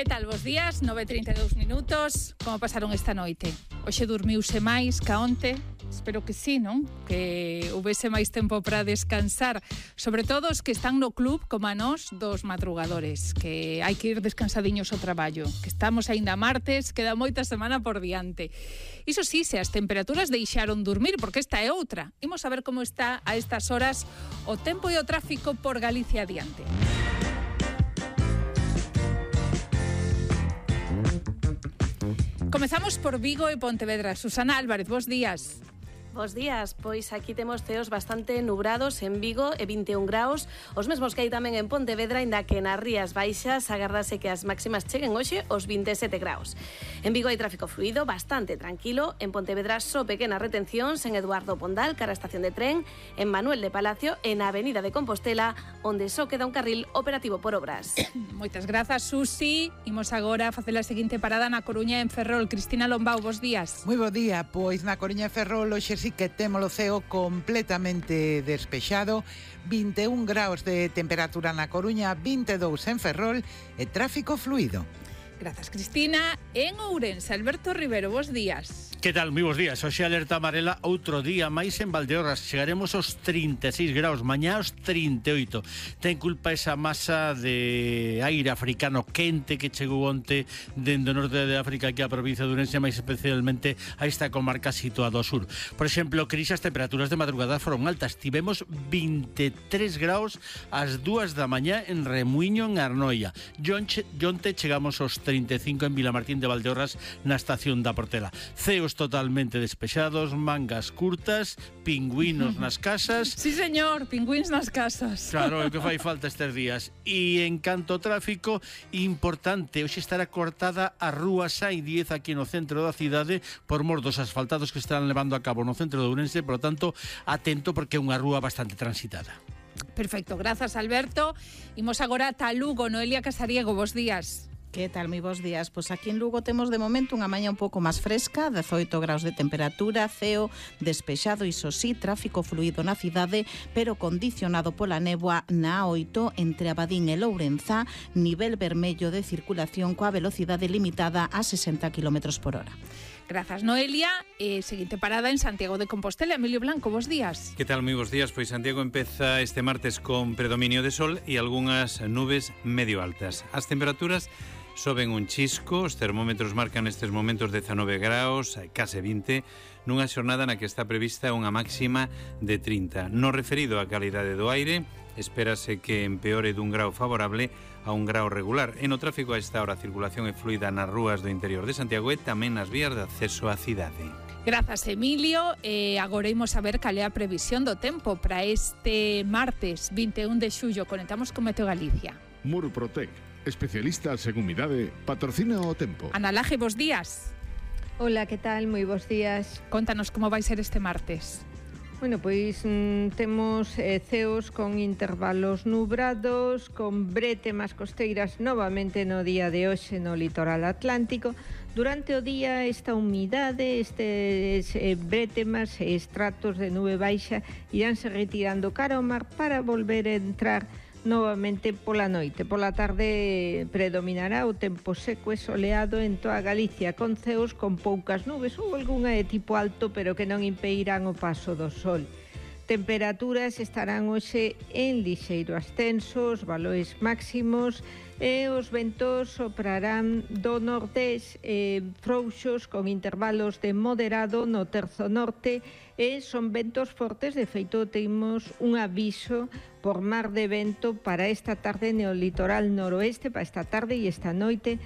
Que tal, vos días? 9:32 minutos. Como pasaron esta noite? Hoxe dormiuse máis ca onte? Espero que sí, non? Que houvese máis tempo para descansar. Sobre todo os que están no club, como a nós, dos madrugadores. Que hai que ir descansadiños ao traballo. Que estamos aínda martes, queda moita semana por diante. Iso sí, se as temperaturas deixaron dormir, porque esta é outra. Imos a ver como está a estas horas o tempo e o tráfico por Galicia adiante. Comezamos por Vigo e Pontevedra. Susana Álvarez, bos días. Bos días, pois aquí temos ceos bastante nubrados en Vigo e 21 graus, os mesmos que hai tamén en Pontevedra, inda que nas Rías Baixas agardase que as máximas cheguen hoxe aos 27 graus. En Vigo hai tráfico fluido, bastante tranquilo, en Pontevedra só pequenas retencións en Eduardo Pondal, cara a estación de tren, en Manuel de Palacio e na Avenida de Compostela, onde só queda un carril operativo por obras. Moitas grazas, Susi. Imos agora a facer a seguinte parada na Coruña en Ferrol. Cristina Lombao, bos días. Moi bo día, pois na Coruña e Ferrol hoxe sí que temos o ceo completamente despexado, 21 graus de temperatura na Coruña, 22 en Ferrol e tráfico fluido. Grazas, Cristina. En Ourense, Alberto Rivero, bos días. Que tal? Moi bos días. Hoxe alerta amarela, outro día máis en Valdeorras. Chegaremos aos 36 graus, mañá aos 38. Ten culpa esa masa de aire africano quente que chegou onte dende o norte de África aquí a provincia de Ourense, máis especialmente a esta comarca situada ao sur. Por exemplo, Cris, as temperaturas de madrugada foron altas. Tivemos 23 graus ás 2 da mañá en Remuiño, en Arnoia. Onte chegamos aos 35 en Vilamartín de Valdeorras, na estación da Portela. Ceos totalmente despexados, mangas curtas, pingüinos nas casas. Sí, señor, pingüins nas casas. Claro, é o que fai falta estes días. E en canto ao tráfico, importante, hoxe estará cortada a rúa Sai 10 aquí no centro da cidade por mor dos asfaltados que están levando a cabo no centro de Ourense, por lo tanto, atento porque é unha rúa bastante transitada. Perfecto, grazas, Alberto. Imos agora ata Lugo. Noelia Casariego, bos días. Que tal, moi bons días? Pois aquí en Lugo temos de momento unha mañá un pouco máis fresca, 18 graus de temperatura, ceo despexado, iso sí, tráfico fluido na cidade, pero condicionado pola néboa na A8 entre Abadín e Lourenzá, nivel vermello de circulación coa velocidade limitada a 60 km por hora. Grazas, Noelia. Seguinte parada en Santiago de Compostela. Emilio Blanco, bos días. Que tal, moi bons días? Pois Santiago empeza este martes con predominio de sol e algunhas nubes medio altas. As temperaturas soben un chisco, os termómetros marcan nestes momentos 19 graus, case 20, nunha xornada na que está prevista unha máxima de 30. No referido á calidade do aire, espérase que empeore dun grau favorable a un grau regular. E no tráfico a esta hora a circulación é fluida nas rúas do interior de Santiago e tamén nas vías de acceso á cidade. Grazas, Emilio. Agora imos a ver cal é a previsión do tempo para este martes 21 de xullo. Conectamos con Meteo Galicia. Murprotec, especialista en umidade, patrocina o tempo. Ana Laje, bos días. Hola, que tal? Moi bons días. Contanos como vai ser este martes. Bueno, pois temos ceos con intervalos nubrados, con bretemas costeiras novamente no día de hoxe no litoral atlántico. Durante o día esta humidade, estes bretemas e estratos de nube baixa iránse retirando cara ao mar para volver a entrar novamente pola noite. Pola tarde predominará o tempo seco e soleado en toda Galicia, con ceos con poucas nubes ou algunha de tipo alto, pero que non impedirán o paso do sol. Temperaturas estarán hoxe en lixeiro ascenso, os valores máximos e os ventos soprarán do nordés frouxos con intervalos de moderado no terzo norte e son ventos fortes. De feito, temos un aviso por mar de vento para esta tarde no litoral noroeste, para esta tarde e esta noite